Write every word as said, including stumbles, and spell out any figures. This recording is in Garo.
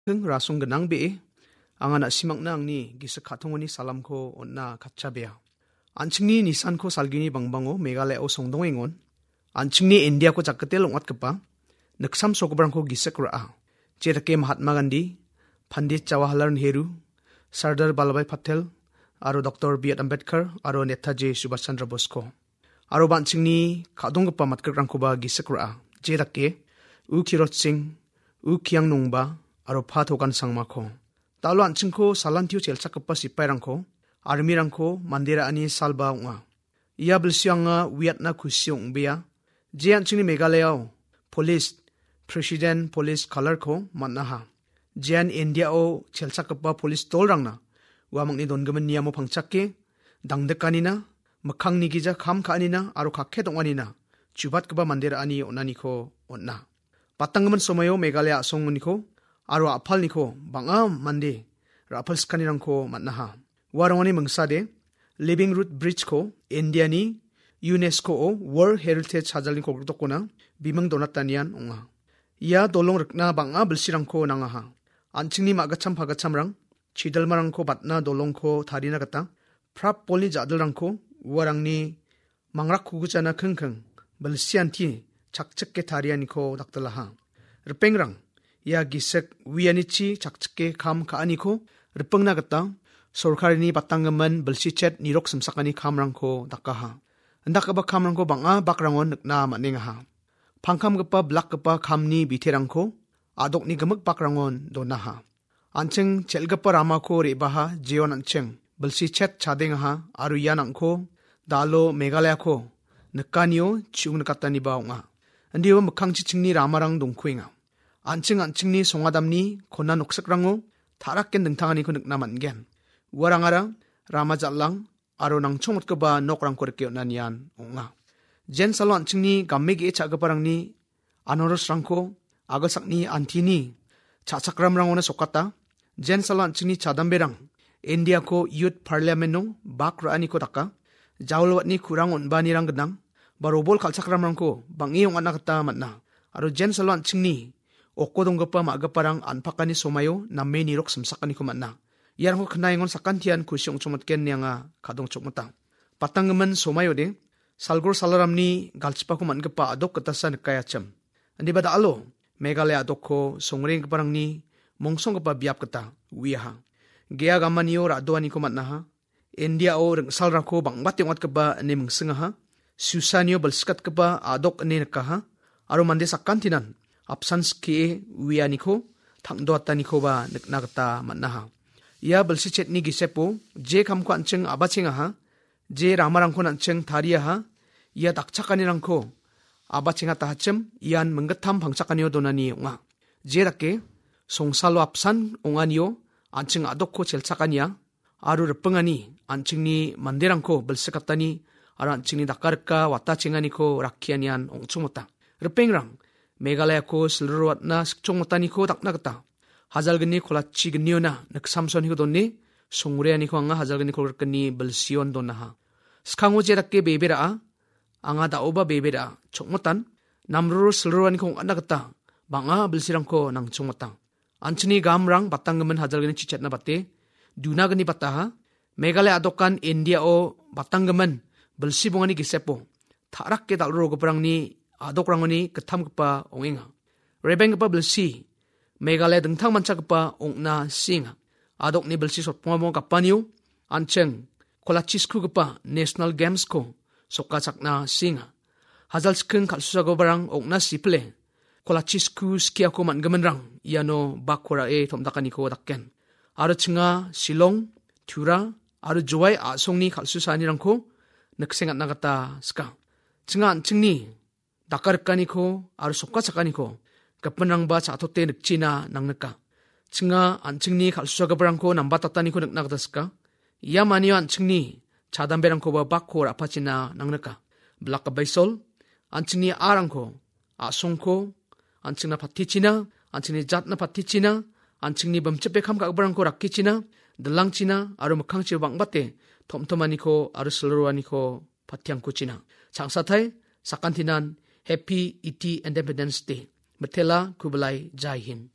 Rasong gnang be·e, anga na·simangna angni gisik ka·tongoni salamko on·na katchabea. An·chingni nisanko salgini bangbango Meghalaya-o songdongengon. An·chingni Indiako jakgite long·atgipa niksamsogiparangko gisik ra·a. Jedake Mahatma Gandhi, Pandit Jawaharlal Nehru, Sardar Vallabhbhai Patel, aro Doktor B R Ambedkar, aro Netaji Subhash Chandra Bosko. Aro ba an·chingni ka·donggipa matgrikrangkoba gisik ra·a. Jedake U Kirot Singh, U Kiang Nongba, aro Pa Togan Sangmako. Da·alo an·chingko salantio chelchakgipa sipairangko, armirangko mande ra·ani salba ong·a. Ia bilsio anga uiatna kusi ong·bea. Je an·chingni Meghalayao polis, president polis kalarko man·aha. Jean Indiao chelchakgipa polis dolrangna uamangni dongimin niamo pangchake, dangdikanina, mikkangni gija kam ka·anina aro kakke dong·anina chubatgipa mande ra·ani on·aniko on·a. Batanggimin somaio Meghalaya a·songoniko aro a·palniko bang·a mande ra·palsikanirangko man·aha. Uarangoni mingsade Living Root Bridge-ko Indiani UNESCO-o World Heritage Hajalni kolgrikdokona biming donatanian ong·a. Ia dolong rikna bang·a bilsirangko nangaha. An·chingni ma·gitcham pagitchamrang chidilmarangko batna dolongko tarina gita prap bolni ja·dilrangko uarangni mangrakkugichana kingking bilsianti chakchike tarianiko daktilaha. Ripengrang, ia gisik uianichi chakchike kam ka·aniko ripengna gita sorkarini batanggimin bilsichet nirok simsakani kamrangko dakaha. Indakgipa kamrangko bang·a bakrangon nikna man·engaha. Pangkamgipa bilakgipa kamni biterangko a·dokni gimik bakrangon donaha. An·ching chel·gipa ramako re·baha jeon an·ching bilsi chet chadengaha aro ian angko da·alo Meghalayako nikanio chi·ong nikataniba ong·a. Indiba mikkangchichingni ramarang dongkuenga. An·ching an·chingni songadamni kona noksikrango ta·raken dingtanganiko nikna man·gen. Uarangara rama jal·ang aro nangchongmotgipa nokrangko rike on·anian ong·a. Jensalo an·chingni game ge·e cha·giparangni anorosrangko agilsakni antini cha·chakramrangona sokata. Jensalo an·chingni chadamberang Indiako Youth Parliament-o bak ra·aniko daka. Jaol watni kurang on·baanirang gnang, ba robol kal·chakramrangko bang·e ong·atna gita man·a. Aro jensalo an·chingni oko donggipa ma·giparang an·pakani somaio name nirok simsakaniko man·a. Iarangko knaengon sakantian kusi ong·chongmotgen ine anga kadongchokmota. Batanggimin somaio de, salgor salaramni galchipako man·gipa a·dok gitasa nikaiachim. Indiba da·alo, Meghalaya a·dokko songrenggiparangni mongsonggipa biap gita uiaha. Gea gamanio ra·doaniko man·aha. Indiao ringsalrangko bang·bate ong·atgipa ine mingsingaha. Susanio bilsikatgipa a·dok ine nikaha. Aro mande sakantinan apsan skie uianiko tang·doatanikoba nikna gita man·aha. Ia bilsi chetni gisepo je kamko an·ching a·bachengaha, je ramarangkon an·ching tariaha, ia dakchakanirangko a·bachengatahachim ian minggittam pangchakanio donani ong·a. Je dake songsalo apsan ong·anio an·ching a·dokko chelchakania, aro ripengani an·chingni manderangko bilsikatani aro an·chingni dakarika watachenganiko rakkianian ong·chongmota. Ripengrang, Meghalayako silriroatna sikchongmotaniko dakna gita hajalgni kolachi gniona niksamsoniko done, songreaniko anga hajalgni kolgrikgni bilsion donaha. Skango je dake bebe ra·a, anga da·oba bebe ra·a, chokmotan, namroro silriroaniko ong·atna gita bang·a bilsirangko nangchongmota. An·chingni gamrang batanggimin hajalgni chichatna bate, dunagni bataha, Meghalaya a·dokan Indiao batanggimin bilsi bongani gisepo, ta·rake dal·rogiparangni a·dokrangoni gittamgipa ong·enga. Rebenggipa bilsi, Meghalaya dingtang manchakgipa ong·na sienga. A·dokni bilsi sotpongamo gapanio, an·ching kolachi skugipa National Games-ko sokachakna sienga. Hajal chiking kal·susagiparang ong·na sipile, kolachi sku skiako man·giminrang iano bakko ra·e tom·dakaniko daken. Aro chinga Shillong, Tura, aro Jowai a·songni kal·susaanirangko niksengatna gita sika. Chinga an·chingni dakarikaniko aro sokachakaniko gipinrangba cha·tote nikchina nangnika. Chinga an·chingni kal·susagiparangko nambatattaniko nikna gita sika. Ia manio an·chingni chadamberangkoba bakko ra·pachina nangnika. Bilak Abaisol, an·chingni a·rangko, a·songko, an·chingna patichina, an·chingni jatna patichina, an·chingni bimchipe kam ka·giparangko rakkichina, dilangchina aro mikkangchiba bang·bate tom·tomaniko aro silriroaniko patiangkuchina. Changsatai, sakantinan Happy Eighty Independence Day. Mitela, Kublai, Jai Hind.